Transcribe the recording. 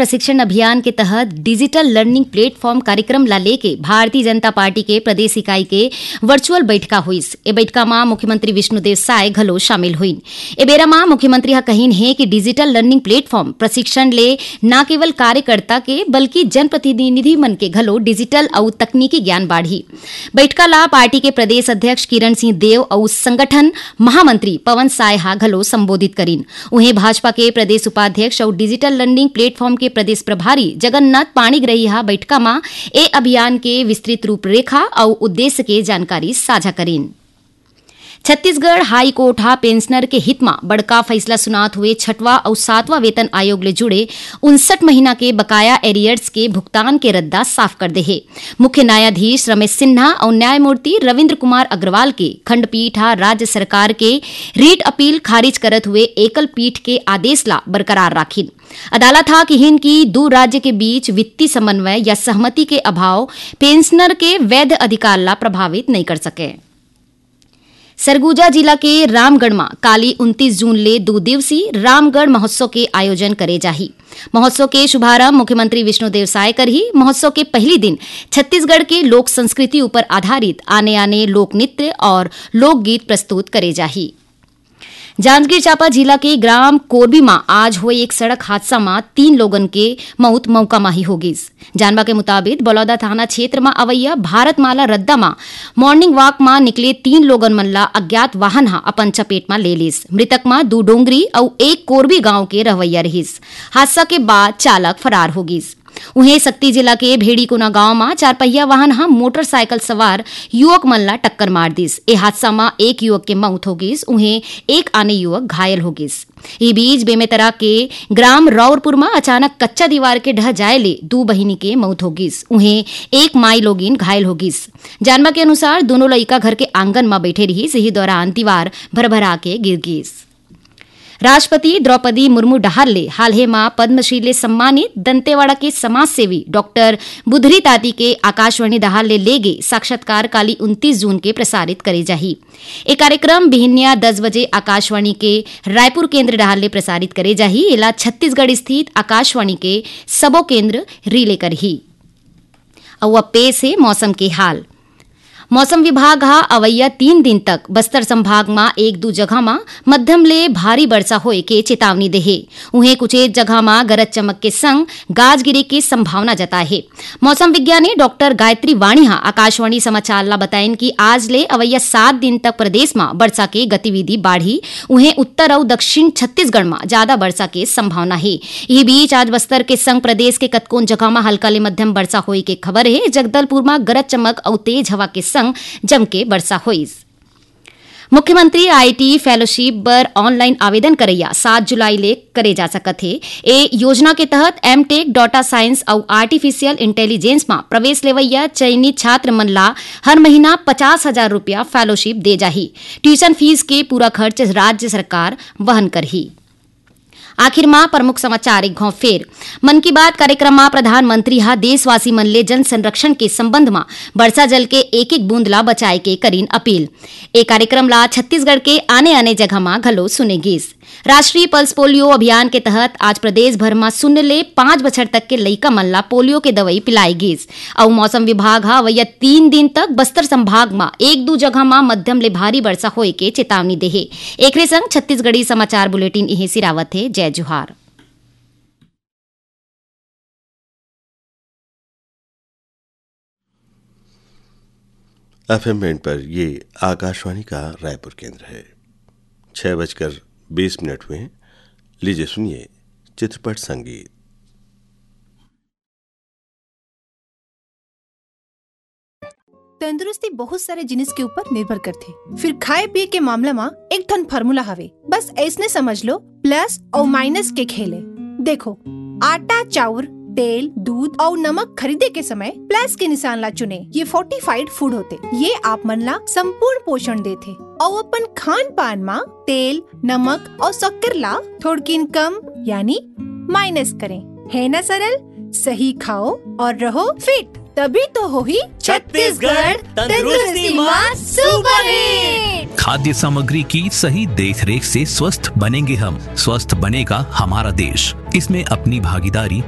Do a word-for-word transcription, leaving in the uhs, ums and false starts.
प्रशिक्षण अभियान के तहत डिजिटल लर्निंग प्लेटफॉर्म कार्यक्रम ला लेके भारतीय जनता पार्टी के प्रदेश इकाई के वर्चुअल बैठका होइस। ए बैठका मा मुख्यमंत्री विष्णुदेव साय घलो शामिल होइन। ए बेरा मा मुख्यमंत्री ह कहिन हे कि डिजिटल लर्निंग प्लेटफॉर्म प्रशिक्षण ले न केवल कार्यकर्ता के, बल्कि जनप्रतिनिधि मन के घलो डिजिटल अउ तकनीकी ज्ञान बाढ़ही। बैठका ला पार्टी के प्रदेश अध्यक्ष किरण सिंह देव अउ संगठन महामंत्री पवन साय हा घलो संबोधित करिन। उहें, भाजपा के प्रदेश उपाध्यक्ष अउ डिजिटल लर्निंग प्लेटफॉर्म के प्रदेश प्रभारी जगन्नाथ पाणिग्रही हा बैठका मा ए अभियान के विस्तृत रूपरेखा अउ उद्देश्य के जानकारी साझा करिन। छत्तीसगढ़ हाई कोर्ट हा पेंशनर के हित मा बड़का फैसला सुनात हुए छठवां अउ सातवां वेतन आयोग ले जुड़े उनसठ महीना के बकाया एरियर्स के भुगतान के रद्दा साफ कर दे हे। मुख्य न्यायाधीश रमेश सिन्हा अउ न्यायमूर्ति रविंद्र कुमार अग्रवाल के खंडपीठ हा राज्य सरकार के रिट अपील खारिज करत हुए एकल पीठ के आदेश ला बरकरार राखिन। अदालत हा किहिन कि दू राज्य के बीच वित्तीय समन्वय या सहमति के अभाव पेंशनर के वैध अधिकार ला प्रभावित नहीं कर सके। सरगुजा जिला के रामगढ़ मा काली उनतीस जून ले दू दिवसीय रामगढ़ महोत्सव के आयोजन करे जाही। महोत्सव के शुभारंभ मुख्यमंत्री विष्णुदेव साय करही। महोत्सव के पहली दिन छत्तीसगढ़ के लोक संस्कृति ऊपर आधारित आने-आने लोक नृत्य और लोकगीत प्रस्तुत करे जाही। जांजगीर चांपा जिला के ग्राम कोरबी मा आज होए एक सड़क हादसा मा तीन लोगन के मौत मौका मा ही हो गिस। जानबा के मुताबिक, बलौदा थाना क्षेत्र मा अवैया भारतमाला रद्दा मा मॉर्निंग वॉक मा निकले तीन लोगन मन ला अज्ञात वाहन हा अपन चपेट मा ले लिस। मृतक मा दू डोंगरी अउ एक कोरबी गांव के रहवैया रहिस। हादसा के बाद चालक फरार हो गिस। उहें, सक्ती जिला के भेड़ीकोना गांव मा चारपहिया वाहन हा मोटरसाइकिल सवार युवक मन ला टक्कर मार दिस। ए हादसा मा एक युवक के मौत हो गिस, उहें एक आने युवक घायल हो गिस। ई बीच, बेमेतरा के ग्राम रौरपुर मा अचानक कच्चा दीवार के ढह जाए ले दू बहिनी के मौत हो गिस, उहें एक माई लोगिन घायल हो गिस। जानबा के अनुसार, दोनों लइका घर के आंगन मा बैठे रिहिस, यही दौरान दीवार भरभरा के गिर गिस। राष्ट्रपति द्रौपदी मुर्मू डहार ले हाल हे मा पद्मश्री ले सम्मानित दंतेवाड़ा के समाजसेवी डॉक्टर बुधरी ताती के आकाशवाणी डहार ले लेगे साक्षात्कार काली उनतीस जून के प्रसारित करे जाही। ए कार्यक्रम बिहनिया दस बजे आकाशवाणी के रायपुर केंद्र डहार ले प्रसारित करे जाही। एला छत्तीसगढ़ स्थित आकाशवाणी के सबो केंद्र रिले करही। अउ अब पेश हे मौसम के हाल। मौसम विभाग हा अवइया तीन दिन तक बस्तर संभाग मा एक दू जगह मा मध्यम ले भारी बरसा होए के चेतावनी देहे। उहें, कुछेक जगह मा गरज चमक के संग गाज गिरे के संभावना जताए हे। मौसम विज्ञानी डॉक्टर गायत्री वाणी हा आकाशवाणी समाचार ला बताइन कि आज ले अवइया सात दिन तक प्रदेश मा बरसा के गतिविधि बाढ़ही। उहें, उत्तर अउ दक्षिण छत्तीसगढ़ मा जादा बरसा के संभावना हे। इही बीच, आज बस्तर के संग प्रदेश के कतकोन जगह मा हल्का ले मध्यम बरसा होए के खबर हे। जगदलपुर मा गरज चमक अउ तेज हवा के संग जम के बरसा होइस। मुख्यमंत्री आईटी फेलोशिप बर ऑनलाइन आवेदन करइया सात जुलाई ले करे जा सकत हे। ए योजना के तहत एमटेक, डेटा साइंस अउ आर्टिफिशियल इंटेलिजेंस मा प्रवेश लेवइया चयनित छात्र मन ला हर महीना पचास हजार रुपया फेलोशिप दे जाही। ट्यूशन फीस के पूरा खर्च राज्य सरकार वहन करही। आखिर मा प्रमुख समाचार एक घाव फेर। मन की बात कार्यक्रम मा प्रधानमंत्री हा देशवासी मन ले जल संरक्षण के संबंध मा वर्षा जल के एक एक बूंद ला बचाए के करीन अपील। ए कार्यक्रम ला छत्तीसगढ़ के आने-आने जगह मा घलो सुने गीस। राष्ट्रीय पल्स पोलियो अभियान के तहत आज प्रदेश भर मा शून्य ले पाँच बछर तक के लइका मन ला पोलियो के दवई पिलाए गीस। अउ मौसम विभाग हा अवइया तीन दिन तक बस्तर संभाग मा एक दू जगह मा मध्यम ले भारी वर्षा होए के चेतावनी देहे। एकरे संग छत्तीसगढ़ी समाचार बुलेटिन इहें सिरावत हे। जय जोहार। एफएम बैंड पर ये आकाशवाणी का रायपुर केंद्र है। छह बजकर बीस मिनट हुए हैं। लीजिए, सुनिए चित्रपट संगीत। तंदुरुस्ती बहुत सारे जिनिस के ऊपर निर्भर करथे। फिर खाए पिए के मामला मा एक ठन फार्मूला हवे, बस ऐसने समझ लो, प्लस और माइनस के खेले। देखो, आटा, चाउर, तेल, दूध और नमक खरीदे के समय प्लस के निशान ला चुने। ये फोर्टिफाइड फूड होते, ये आप मन ला संपूर्ण पोषण देथे। और अपन खान पान मा तेल, नमक और शक्कर ला थोड़किन कम यानी माइनस करें, है ना सरल? सही खाओ और रहो फिट, तभी तो होही छत्तीसगढ़ तंदुरुस्ती मा सुपरहिट। खाद्य सामग्री की सही देखरेख से स्वस्थ बनेंगे हम, स्वस्थ बनेगा हमारा देश। इसमें अपनी भागीदारी